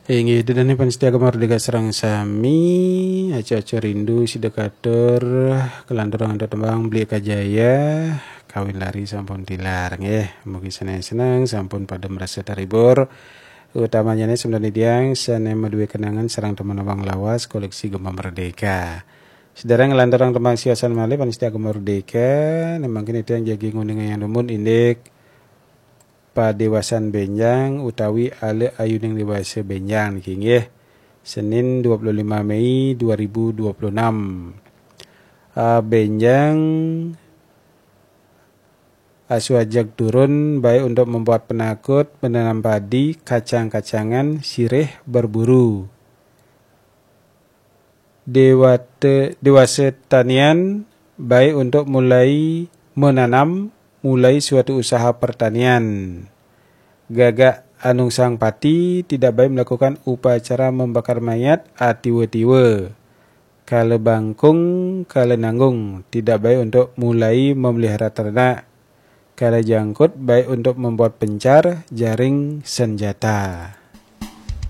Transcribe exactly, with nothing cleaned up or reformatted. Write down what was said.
Inggih, ida dané pamiarsa Gema Merdeka sareng sami, aco-aco rindu sida katur, kalanturang antuk tembang Beli Kajaya, kawin lari sampun tilar, nggih. Mugi sané seneng, sampun pada merasa terhibur. Utamanya nih sebenarnya tiang sané madué kenangan sareng temen abang lawas koleksi Gema Merdeka. Sedhereng nglanturang tembang siosan malih pamiarsa Gema Merdeka, né mangkin tiang jagi nguningayang dumun indik padéwasan bénjang utawi ala ayuning déwasa bénjang niki nggih. Senin dua puluh lima Mei dua ribu dua puluh enam. Ah, bénjang asuh ajeg turun baik untuk membuat penakut, menanam padi, kacang-kacangan, sirih, berburu. Dewate, dewasa tanian baik untuk mulai menanam, mulai suatu usaha pertanian. Gagak anungsang pati tidak baik melakukan upacara membakar mayat atiwa-tiwa. Kala bangkung, kala nanggung tidak baik untuk mulai memelihara ternak. Kala jangkut baik untuk membuat pencar, jaring, senjata.